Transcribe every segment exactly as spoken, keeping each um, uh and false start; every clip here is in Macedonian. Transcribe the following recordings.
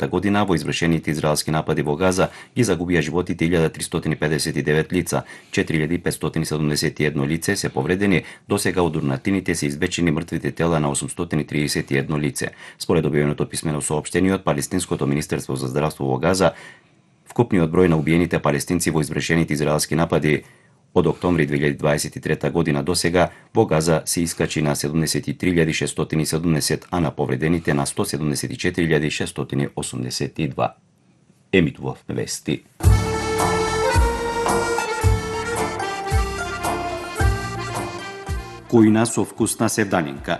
година во извршените израелски напади во Газа ги загубија животите илјада тристотини педесет и девет лица, четири илјади петстотини седумдесет и едно лице се повредени, досега од урнатините се извечени мртвите тела на осумстотини триесет и едно лице. Според објавеното писмено соопштение од Палестинското министерство за здравство во Газа, вкупниот број на убиените палестинци во извршените израелски напади од октомври две илјади дваесет и трета година до сега во Газа се искачи на седумдесет и три илјади шестстотини и седумдесет, а на повредените на сто седумдесет и четири илјади шестстотини и осумдесет и два. Емитував вести. Кујна со вкусна севдалинка.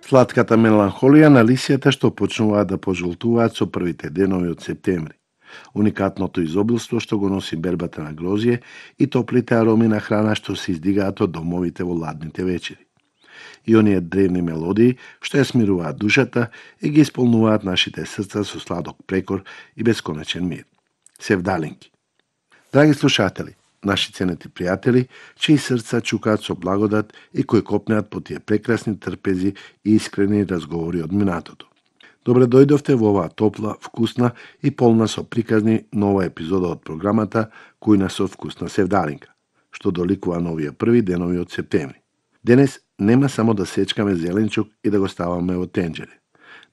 Сладката меланхолија на лисијата што почнуваат да пожолтуваат со првите денови од септември. Уникатното изобилство што го носи бербата на грозје и топлите ароми на храна што се издигаат од домовите во ладните вечери. И оние древни мелодии што ја смируваат душата и ги исполнуваат нашите срца со сладок прекор и бесконечен мир. Севдалинки. Драги слушатели, наши ценети пријатели, чии срца чукаат со благодат и кои копнеат по тие прекрасни трпези и искрени разговори од минатото. Добре дојдовте во оваа топла, вкусна и полна со приказни нова епизода од програмата Кујна со вкусна севдалинка, што доликува новија први денови од септември. Денес нема само да сечкаме зеленчук и да го ставаме во тенџере.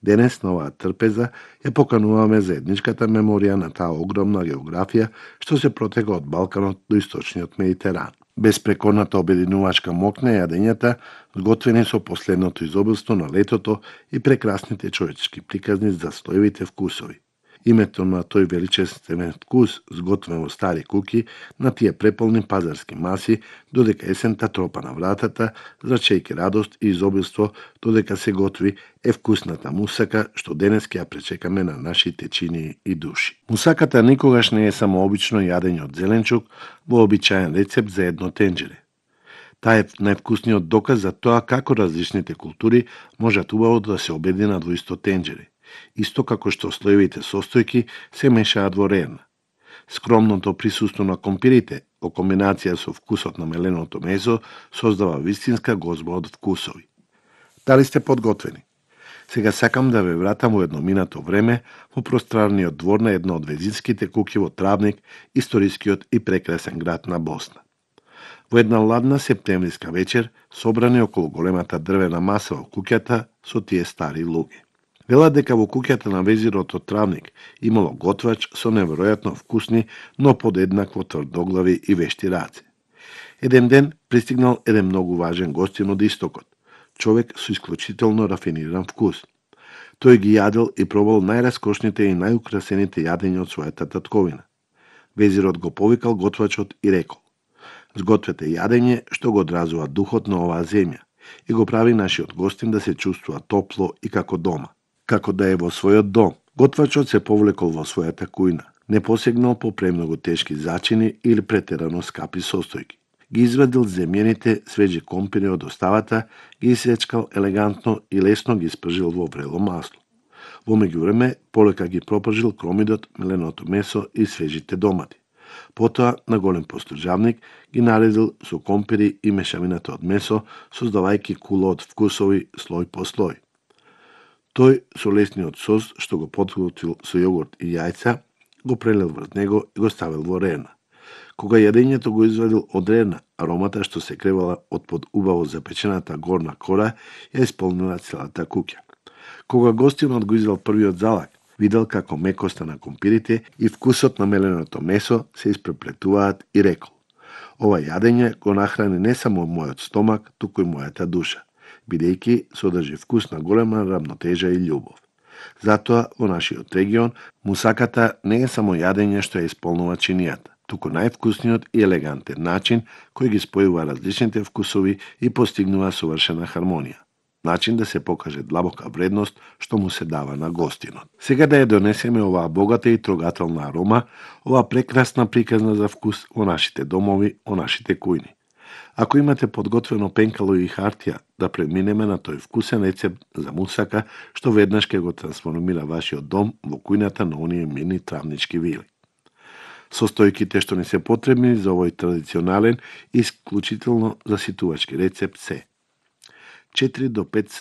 Денес на оваа трпеза ја покануваме заедничката меморија на таа огромна географија што се протега од Балканот до источниот Медитеран. Безпрекорната обединувачка мокна јадењата, сготвени со последното изобилство на летото и прекрасните човечки приказни за стоевите вкусови. Името на тој величествен вкус, сготвен во стари куки, на тие преполни пазарски маси, додека есента тропа на вратата, зрачејќи радост и изобилство, додека се готви, е вкусната мусака, што денес ќе ја пречекаме на нашите чинии и души. Мусаката никогаш не е само обично јадење од зеленчук, вообичаен рецепт за едно тенџере. Таа е највкусниот доказ за тоа како различните култури можат убаво да се обединат во исто тенџере. Исто како што слоевите состојки се мешаат во рерна. Скромното присуство на компирите, во комбинација со вкусот на меленото месо, создава вистинска гозба од вкусови. Дали сте подготвени? Сега сакам да ве вратам во едно минато време во пространниот двор на едно од везинските куки во Травник, историскиот и прекрасен град на Босна. Во една ладна септемвриска вечер, собрани околу големата дрвена маса во куќата со тие стари луѓе. Велат дека во куќата на везирот од Травник имало готвач со неверојатно вкусни, но подеднакво тврдоглави и вешти раце. Еден ден пристигнал еден многу важен гостин од истокот, човек со исклучително рафиниран вкус. Тој ги јадел и пробал најраскошните и најукрасените јадења од својата татковина. Везирот го повикал готвачот и рекол: "Сгответе јадење што го одразува духот на оваа земја и го прави нашиот гостин да се чувствува топло и како дома, како да е во својот дом." Готвачот се повлекол во својата кујна, не посегнал по премногу тешки зачини или претерано скапи состојки. Ги извадил земјените свежи компири од оставата, ги исечкал елегантно и лесно ги спржил во врело масло. Во меѓувреме, полека ги пропржил кромидот, меленото месо и свежите домати. Потоа, на голем постужавник, ги наредил со компири и мешавината од месо, создавајќи кула од вкусови слој по слој. Тој со лесниот сос, што го подготвил со јогурт и јајца, го прелил врз него и го ставил во рерна. Кога јадењето го извадил од рерна, аромата што се кревала од под убаво запечената горна кора ја исполнила целата куќа. Кога гостинот го извел првиот залак, видел како мекоста на компирите и вкусот на меленото месо се испреплетуваат и рекол: "Ова јадење го нахрани не само мојот стомак, туку и мојата душа, бидејќи содржи вкус на голема рамнотежа и љубов." Затоа во нашиот регион мусаката не е само јадење што ја исполнува чинијата, туку највкусниот и елегантен начин кој ги спојува различните вкусови и постигнува совршена хармонија. Начин да се покаже длабока вредност што му се дава на гостинот. Сега да ја донесеме оваа богата и трогателна арома, оваа прекрасна приказна за вкус во нашите домови, во нашите кујни. Ако имате подготвено пенкало и хартија, да преминеме на тој вкусен рецепт за мусака што веднаш ќе го трансформира вашиот дом во кујната на оние мини травнички вили. Состојките што ни се потребни за овој традиционален и исклучително заситувачки рецепт се: четири до пет